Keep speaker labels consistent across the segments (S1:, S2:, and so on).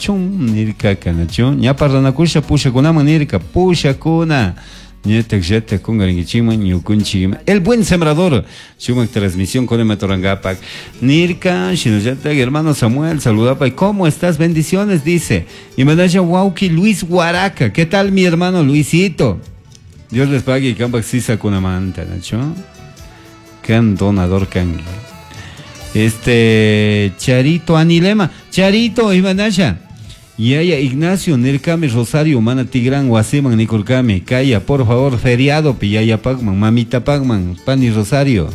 S1: Kachun nirkaka, nachu? Ña parlanakusha pushakunaman nirka, pushakuna. Ñatak llatak kungarinkichikman ñukunchik El Buen Sembrador sumak transmisión con Matorangapak nirka shinallatak hermano Samuel saludapay, ¿cómo estás? Bendiciones, dice. Y manasha wauki Luis Guaraca, ¿qué tal, mi hermano Luisito? Dios les pague y kampak sisa kunamanta, nachu? Kan donador kanki. Charito Anilema, Charito imanasha. Yaya Ignacio nirkami Rosario mana tigran wasiman nikurkami. Kaya, por favor, feriado pi yaya pagman, mamita pagman, pani Rosario.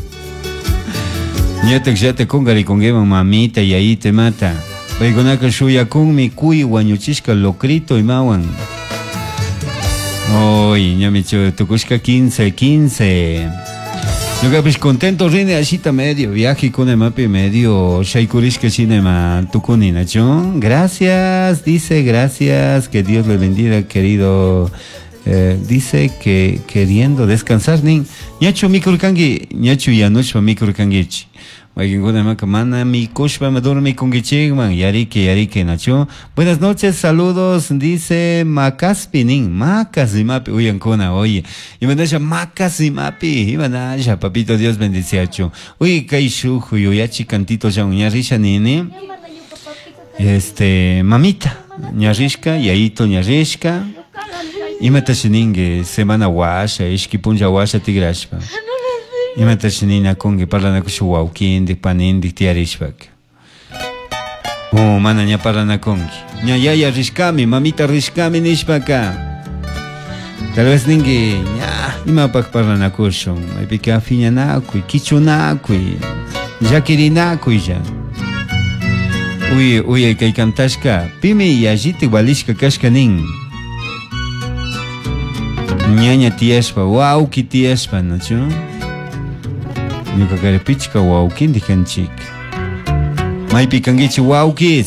S1: Ñatak llata kungarikunkiman mamita yayita imata. Paykunaka shuyakunmi kuy wañuchishka locrito imawan. Oy, ñami tukushka 15, 15. Ñukapish contento rini ashita medio viaje con mapi medio shaykurishka shinema tukuni nachu. Gracias, dice, gracias, que Dios le bendiga, querido. Dice que queriendo descansar nin ñachu mikurkanki, ñachu yanushpa mikurkankichi. Mayqinkuna maka mana mikushpa dormikunkichikman, yarike yarike nachu. Buenas noches, saludos, dice Macaspi nin, Macas imapi uyankuna, oye. Imanasha Macas imapi, imanasha, papito Dios bendiciachu. Uy, kay shuk yuyachi cantito ya ñarrisha nini. Mamita, ñarrishka, yayito ñarrishka. Imatashi ninki semana washa, ishki punlla washa tigrashpa. Imatashi ninakunki parlanakusha wawkindik, panindik tiyarishpaka. Oh, mana ña parlanakunki. Ña yaya rishkami, mamita rishkami nishpaka. Tal vez ninki, ña, imapak parlanakushun. Maypika phiñanakuy, kichunakuy, llakirinakuy ya. Uy, uy, kay kantashka, pimi yallitik valishka kashka nin. Ñaña tiyashpa, wawki tiyashpa, nachu? Ñuka kari pichka wawkindik kanchik. Maypi kankichik wawkis?